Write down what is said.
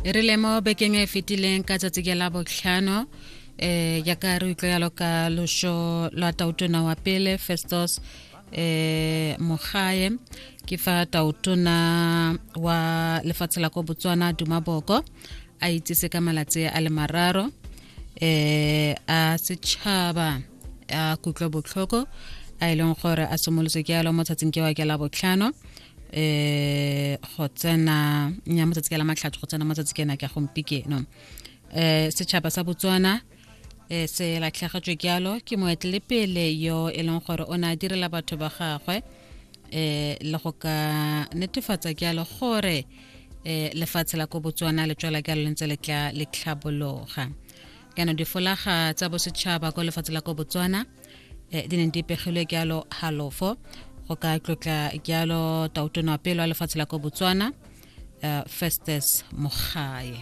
E rile mo bekeng e fetileng ka tsatsi ke la botlhano, jaaka re utlwa yalo ka loso lwa tautona wa pele Festus Mogae, ke fa tautona wa lefatshe la ko Botswana Duma Boko a itsise ka malatsi a le 3 a setšhaba a kutlwa botlhoko, a e leng gore a simolotse ke yalo mo tsatsing ke wa ke la botlhano go tsena nya motsatsi ke la matlhatso go tsena motsatsi ke ena ke gompikeno. Setšhaba sa Botswana se latlhegetswe jalo ke moetelepele yo e leng gore o ne a direla batho ba gagwe le go ka netefatsa jalo gore lefatshe la ko Botswana le tswela jalo le ntse le tla le tlhabologa. Jaanong difolaga tsa bosetšhaba ko lefatshe la ko Botswana di neng di pegilwe jalo halofo go ka tlotla jalo tautona wa pele wa lefatshe la ko Botswana, Festus Mogae.